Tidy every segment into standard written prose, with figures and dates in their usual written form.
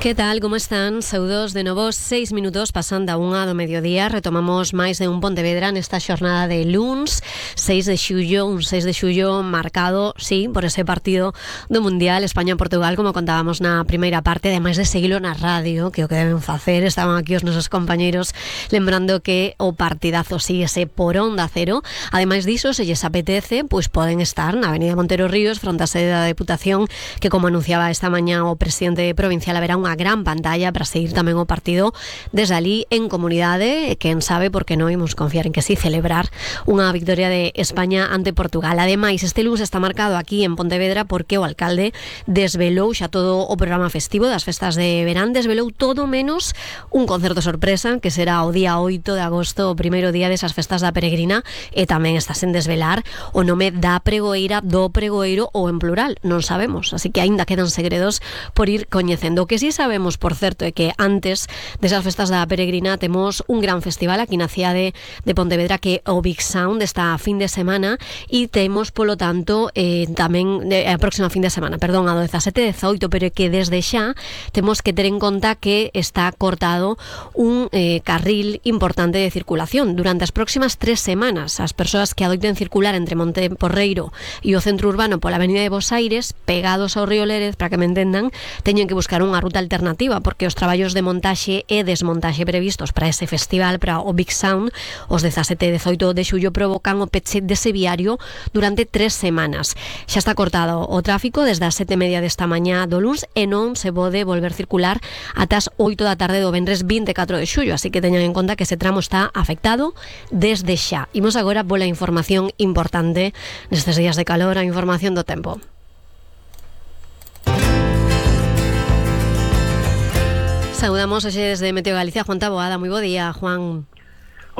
Que tal, como están? Saúdos de novo, 6 minutos pasando a 1 do mediodía. Retomamos máis de un Pontevedra nesta xornada de luns 6 de xullo, un 6 de xullo marcado, sí, por ese partido do Mundial España-Portugal, como contábamos na primeira parte, ademais de seguilo na radio, que o que deben facer. Estaban aquí os nosos compañeiros lembrando que o partidazo síguese por Onda Cero. Ademais diso, se lles apetece, pois poden estar na Avenida Montero Ríos, fronte á sede da Deputación, que como anunciaba esta mañá o presidente provincial, haberá unha gran pantalla para seguir tamén o partido desde ali en comunidade. Quen sabe, porque non imos confiar en que sí celebrar unha victoria de España ante Portugal. Ademais, este lunes está marcado aquí en Pontevedra porque o alcalde desvelou xa todo o programa festivo das festas de verán, desvelou todo menos un concerto sorpresa que será o día 8 de agosto, o primeiro día desas festas da Peregrina, e tamén está sen desvelar o nome da pregoeira, do pregoeiro, ou en plural, non sabemos, así que aínda quedan segredos por ir coñecendo. O que sí sabemos, por certo, é que antes desas festas da Peregrina temos un gran festival aquí na cidade de Pontevedra, que é o Big Sound, esta fin de semana, e temos, polo tanto, tamén a próxima fin de semana, perdón, a 17 e 18, pero é que desde xa temos que ter en conta que está cortado un carril importante de circulación durante as próximas 3 semanas. As persoas que adoiten circular entre Monteporreiro e o centro urbano pola avenida de Bos Aires, pegados ao río Lérez, para que me entendan, teñen que buscar unha ruta alternativa, porque os traballos de montaxe e desmontaxe previstos para ese festival, para o Big Sound, os 17 e 18 de xullo, provocan o peche dese viario durante 3 semanas. Xa está cortado o tráfico desde as 7:30 desta mañá do luns e non se pode volver circular ata as 8 da tarde do venres 24 de xullo, así que teñan en conta que ese tramo está afectado desde xa. Imos agora pola información importante nestes días de calor, a información do tempo. Saudamos hoxe desde Meteo Galicia Juan Taboada. Moi bo día, Juan.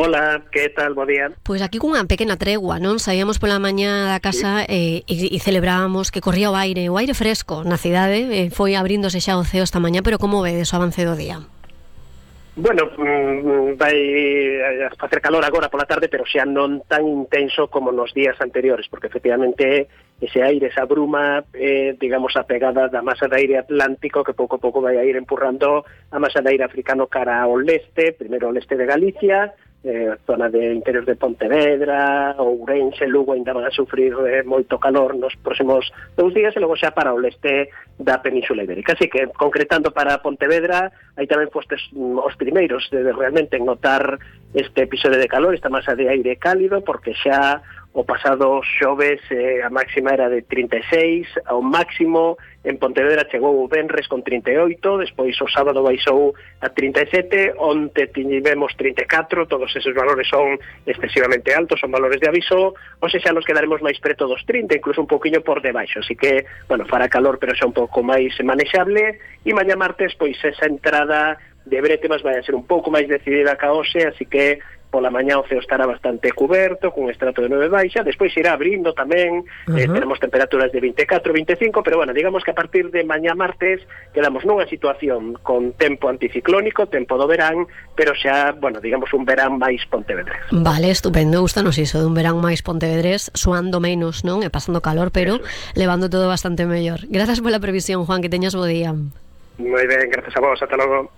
Hola, que tal? Bo día. Pois aquí cunha pequena tregua, non? Saíamos pola mañá da casa e celebrábamos que corría o aire fresco na cidade, foi abríndose xa o ceo esta mañá, pero como vedes o avance do día? Bueno, vai a facer calor agora pola tarde, pero xa non tan intenso como nos días anteriores, porque efectivamente ese aire, esa bruma, digamos, a pegada da masa de aire atlántico que pouco a pouco vai a ir empurrando a masa de aire africano cara ao leste, primeiro ao leste de Galicia, zona de interior de Pontevedra, Ourense, Lugo ainda van a sufrir moito calor nos próximos 2 días, e logo xa para o leste da Península Ibérica. Así que, concretando para Pontevedra, aí tamén fostes os primeiros de realmente notar este episodio de calor, esta masa de aire cálido, porque xa o pasado xoves a máxima era de 36, ao máximo en Pontevedra chegou o venres con 38, despois o sábado baixou a 37, onte tivemos 34, todos esos valores son excesivamente altos, son valores de aviso, ou xa nos quedaremos máis preto dos 30, incluso un poquinho por debaixo, así que, bueno, fará calor, pero xa un pouco máis manexable, e mañá martes, pois esa entrada de brétemas vai a ser un pouco máis decidida ca hoxe, así que pola mañá o ceo estará bastante cuberto, con estrato de 9 baixa, despois irá abrindo tamén, tenemos temperaturas de 24, 25, pero bueno, digamos que a partir de mañá martes quedamos nunha situación con tempo anticiclónico, tempo do verán, pero xa, bueno, digamos un verán máis pontevedrés. Vale, estupendo, gustanos iso de un verán máis pontevedrés, suando menos, non? E pasando calor, pero levando todo bastante mellor. Grazas pola previsión, Juan, que teñas bo día. Moi ben, grazas a vos, ata logo.